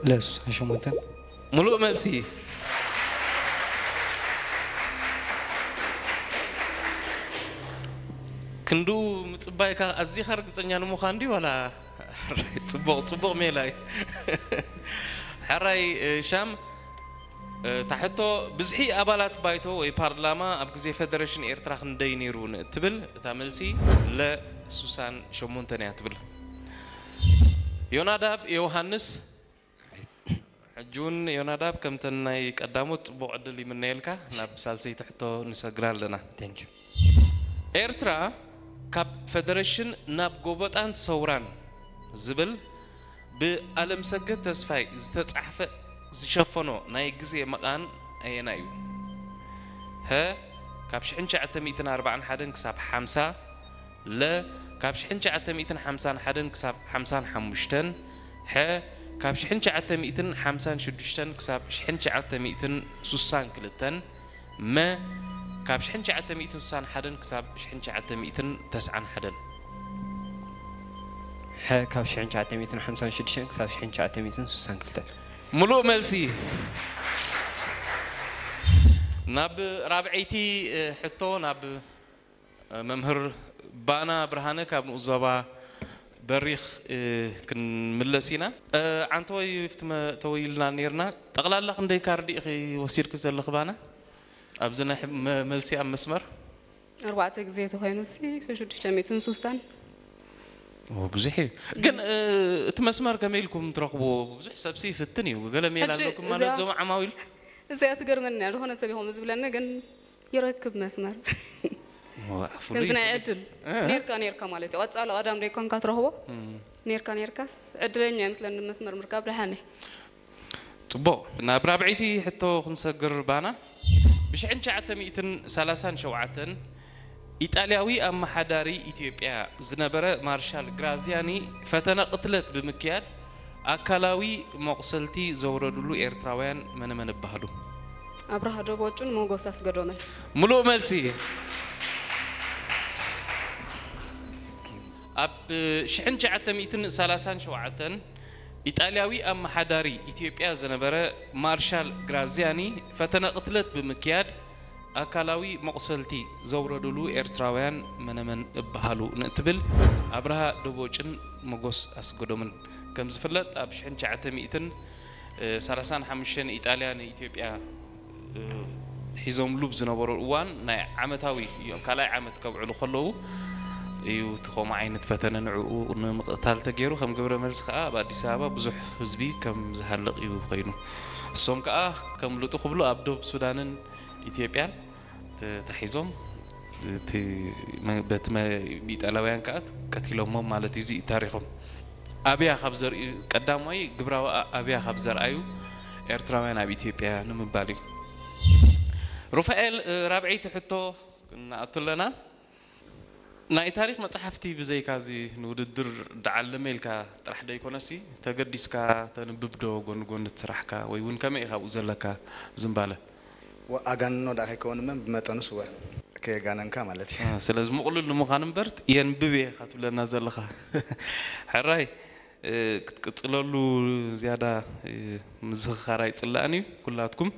ለሱሳን ሸሞንተን። ሙሉእ መልሲ። ክንዱ ምጽባይካ ኣዚኻ ርግጸኛ ንምዃን ድዩ ዋላ? ጽቡቕ ጽቡቕ ሜላ እዩ። ሕራይ ሻም፣ እታ ሕቶ፣ ብዝሒ ኣባላት ባይቶ ወይ ፓርላማ ኣብ ግዜ ፈደረሽን ኤርትራ ክንደይ ነይሩ ንእትብል፣ እታ መልሲ ለ ሱሳን ሸሞንተን እያ ትብል። ዮናዳብ ዮሃንስ። ሕጂ እውን ዮናዳብ፣ ከምተን ናይ ቀዳሞት ጽቡቕ ዕድል ይምነየልካ። ናብ ሳልሰይቲ ሕቶ ንሰግር ኣለና። Thank you። ኤርትራ ካብ ፈደረሽን ናብ ጎበጣን ሰውራን ዝብል ብኣለምሰገድ ተስፋይ ዝተጻሕፈ ዝሸፈኖ ናይ ግዜ መቓን ኣየናይ እዩ? ሀ፣ ካብ ሽሕን ትሽዓተ ሚእትን ኣርባዓን ሓደን ክሳብ ሓምሳ፣ ለ፣ ካብ ሽሕን ትሽዓተ ሚእትን ሓምሳን ሓደን ክሳብ ሓምሳን ሓሙሽተን፣ ሐ፣ ካብ ሽሕን ትሽዓተ ሚእትን ሓምሳን ሽዱሽተን ክሳብ ሽሕን ትሽዓተ ሚእትን ሱሳን ክልተን፣ መ፣ ካብ ሽሕን ትሽዓተ ሚእትን ሱሳን ሓደን ክሳብ ሽሕን ትሽዓተ ሚእትን ተስዓን ሓደን። ሐ፣ ካብ ሽሕን ትሽዓተ ሚእትን ሓምሳን ሽዱሽተን ክሳብ ሽሕን ትሽዓተ ሚእትን ሱሳን ክልተን። ሙሉእ መልሲ። ናብ ራብዐይቲ እ፣ ሕቶ ናብ እ፣ መምህር ባና ብርሃነ ካብ ንኡስ ዞባ በሪኽ እ፣ ክንምለስ ኢና። እ፣ ዓንተወይ ብቲ መ- ተወይልና ነይርና። ጠቕላላ ክንደይ ካርዲ ኢኺ ወሲድኪ ዘለኺ ባና? ኣብዚ ናይ ሕብ- መ- መልሲ ኣብ መስመር ኣርባዕተ ግዜ ተኮይኑ ሲ ሽዱሽተ ሚእትን ሱሳን። ኦ፣ ብዙሕ እዩ። ግን እ፣ እቲ መስመር ከመይ ኢልኩም ትረኽብዎ? ብዙሕ ሰብሲ ይፍትን እዩ። ገለ ሜላ ሕጂ ኣለኩም ማለት እዛ- እዞም ዓማዊል? እዚኣ ትገርመኒ እያ። ዝኾነ ሰብ ይኾም ዝብለኒ ግን ይረክብ መስመር። ዋ፣ ፍሉይ ከምዚ ናይ ፍሉይ። ዕድል እ? ኔርካ ኔርካ ማለት እዩ። ቀጻሊ ቀዳም ደይኮንካ ትረኽቦ እም። ኔርካ ኔርካስ ዕድለኛ ይመስለኒ መስመር ምርካብ ደሓነ። ጽቡቕ፣ ናብ ራብዐይቲ ሕቶ ክንሰግር ባና። ብሽሕን ትሽዓተ ሚእትን ሰላሳን ሸውዓተን ኢጣልያዊ ኣመሓዳሪ ኢትዮጵያ ዝነበረ ማርሻል ግራዚያኒ ፈተነ ቅትለት ብምክያድ ኣካላዊ መቑሰልቲ ዘውረድሉ ኤርትራውያን መነመን ይበሃሉ? ኣብርሃ ደቦጩን ሞጎስ ኣስገዶምን። ሙሉእ መልሲ። ኣብ ሽሕን ትሽዓተ ሚእትን ሰላሳን ሸውዓተን ኢጣልያዊ ኣመሓዳሪ ኢትዮጵያ ዝነበረ ማርሻል ግራዚያኒ ፈተነ ቅትለት ብምክያድ ኣካላዊ መቑሰልቲ ዘውረድሉ ኤርትራውያን መነመን እበሃሉ ንእትብል ኣብርሃ ደቦጭን መጎስ ኣስገዶምን። ከም ዝፍለጥ ኣብ ሽሕን ትሽዓተ ሚእትን ሰላሳን ሓሙሽተን ኢጣልያ ንኢትዮጵያ እ፣ ሒዞምሉ ብዝነበሩ እዋን ናይ ዓመታዊ እዮም፣ ካልኣይ ዓመት ከብዕሉ ከለዉ እዩ እቲ ከምኡ ዓይነት ፈተነ ንዕኡ ንምቕታል ተገይሩ። ከም ግብረ መልሲ ከዓ ኣብ ኣዲስ ኣበባ ብዙሕ ህዝቢ ከም ዝሃልቕ እዩ ኮይኑ። እሶም ከዓ ከምልጡ ክብሉ ኣብ ዶብ ሱዳንን ኢትዮጵያን ተታሒዞም እቲ መ- በቲ መ- ብኢጣልያውያን ከዓ ቀቲሎሞም ማለት እዩ። እዚ እዩ ታሪኾም። ኣብያ ካብ ዘርእዩ ቀዳማይ ግብራዊ ኣ- ኣብያ ካብ ዘርኣዩ ኤርትራውያን ኣብ ኢትዮጵያ ንምባል እዩ። ሩፋኤል እ፣ ራብዐይቲ ሕቶ ክንኣቱ ኣለና። ናይ ታሪኽ መጽሓፍቲ ብዘይካ እዚ ንውድድር ደዓለመ ኢልካ ጥራሕ ዶ ይኮነሲ ተገዲስካ ተንብብ ዶ ጎኒ ጎኒ እቲ ስራሕካ ወይ እውን ከመይ ኢኻ ኣብኡ ዘለካ ዝምባለ? ኣጋንኖ ደኣ ከይከውን እመን ብመጠኑስ እወ ከየጋነንካ ማለት እዩ። ስለዚ ምቕሉል ንምዃን እምበር የንብብ እየ ኢኻ ትብለና ዘለኻ። ሕራይ ክትቅፅለሉ ዝያዳ ምዝኽኻር ኣይፅላእን እዩ። ኩላትኩም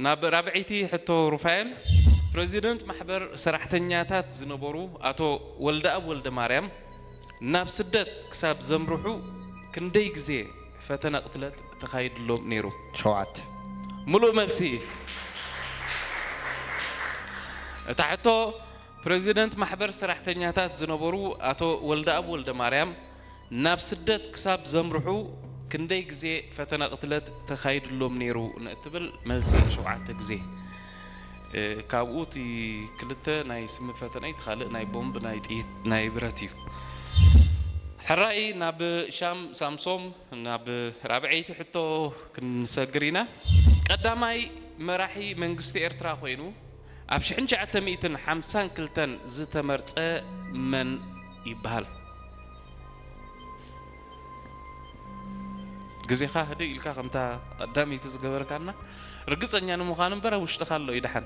ናብ ራብዐይቲ ሕቶ ሩፋኤል፣ ፕረዚደንት ማሕበር ሰራሕተኛታት ዝነበሩ ኣቶ ወልደኣብ ወልደማርያም ናብ ስደት ክሳብ ዘምርሑ ክንደይ ግዜ ፈተነ ቅትለት ተኻይድሎም ነይሩ? ሸውዓተ። ሙሉእ መልሲ። እታ ሕቶ ፕረዚደንት ማሕበር ሰራሕተኛታት ዝነበሩ ኣቶ ወልደኣብ ወልደማርያም ናብ ስደት ክሳብ ዘምርሑ ክንደይ ግዜ ፈተነ ቅትለት ተኻይድሎም ነይሩ ንእትብል መልሲ ሸውዓተ ግዜ። እ፣ ካብኡ እቲ ክልተ ናይ ስሚ ፈተነ እዩ፣ እቲ ካልእ ናይ ቦምብ ናይ ጥይት ናይ ብረት እዩ። ሕራይ ናብ ሻም ሳምሶም ናብ ራብዐይቲ ሕቶ ክንሰግር ኢና። ቀዳማይ መራሒ መንግስቲ ኤርትራ ኮይኑ ኣብ ሽሕን ትሽዓተ ሚእትን ሓምሳን ክልተን ዝተመርጸ መን ይበሃል? ግዜኻ ህድእ ኢልካ ከምታ ቀዳመይቲ ዝገበርካና ርግጸኛ ንምዃን እምበር ኣብ ውሽጥኻ ኣሎ እዩ ደሓን።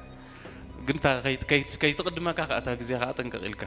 ግን እታ ከይት- ከይት- ከይትቕድመካ ከኣ እታ ግዜኻ ጠንቀቕ ኢልካ።